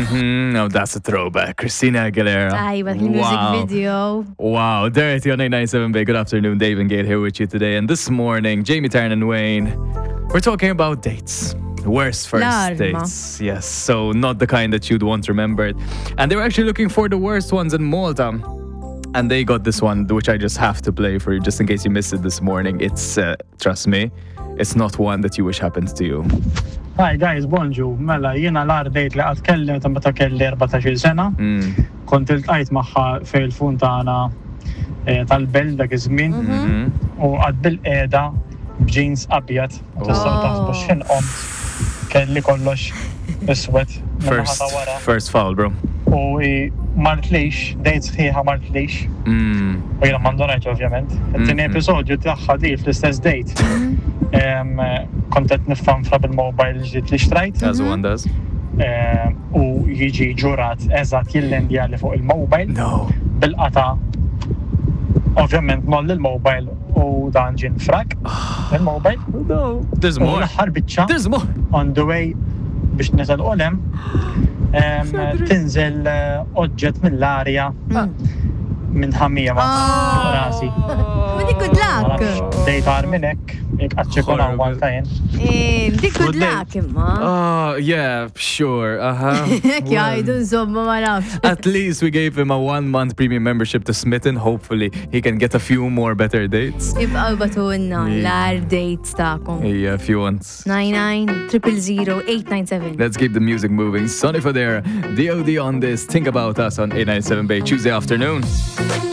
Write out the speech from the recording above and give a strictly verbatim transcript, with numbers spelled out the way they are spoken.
Mm-hmm. No, that's a throwback. Christina Aguilera. Ajwa, il-music Wow. video. Wow, Dirty on eight nine seven Bay. Good afternoon, Dave and Gail here with you today. And this morning, Jamie, Taryn, and Wayne, we're talking about dates. Worst first L-arma. Dates. Yes, so not the kind that you'd want remembered. And they were actually looking for the worst ones in Malta. And they got this one, which I just have to play for you, just in case you missed it this morning. It's, uh, trust me, it's not one that you wish happened to you. Hi guys, bonġu. Mela, jiena l-agħar date li qatt kelli ta' meta kelli erbatax-il sena. Mm. Kont iltqajt magħha fil-funtana eh, tal-Belt dak iż-żmien Mhm. u qgħadt bilqiegħda b'jeans abjad. U tistgħu Oh. taħsbu x'ħin qomt kelli kollox iswed min-naħa First, ta' wara. First foul, bro. U i- martlix, date sħiħa martlix. Mm. U jiena m'indunajtx, ovvjament. It-tieni Mhm. episodju tagħha di fl-istess date. Em, Kont qed niffanfra bil-mobile ġdid li xtrajt. As one does. Eh, u jiġi ġurat eżatt jillendja li fuq il-mobile No. bil-qata. Ovvjament ngħolli il-mobile u dan ġie frak il-mobile. No. There's U more. l-aħħar biċċa There's more. on the way biex nitilqu 'l hemm em, tinżel eh, oġġett mill-arja minn ħamija ma' Oh. rasi. Ma dik good luck. Date agħar minn hekk, jekk qatt ikun hawn Horrible. tajn. Eh, Dik good Good day. luck imma. Oh, yeah, sure. Uh-huh. Hekk jgħidu, insomma, ma nafx. At least we gave him a one month premium membership to Smitten. Hopefully, he can get a few more better dates. Ibqgħu ibagħtulna Yeah. l-agħar dates tagħkom. Yeah, if you want. nine nine triple zero eight nine seven. Let's keep the music moving. Sonny Fodera, D O D on this. Think About Us on eight nine seven Bay, Tuesday afternoon.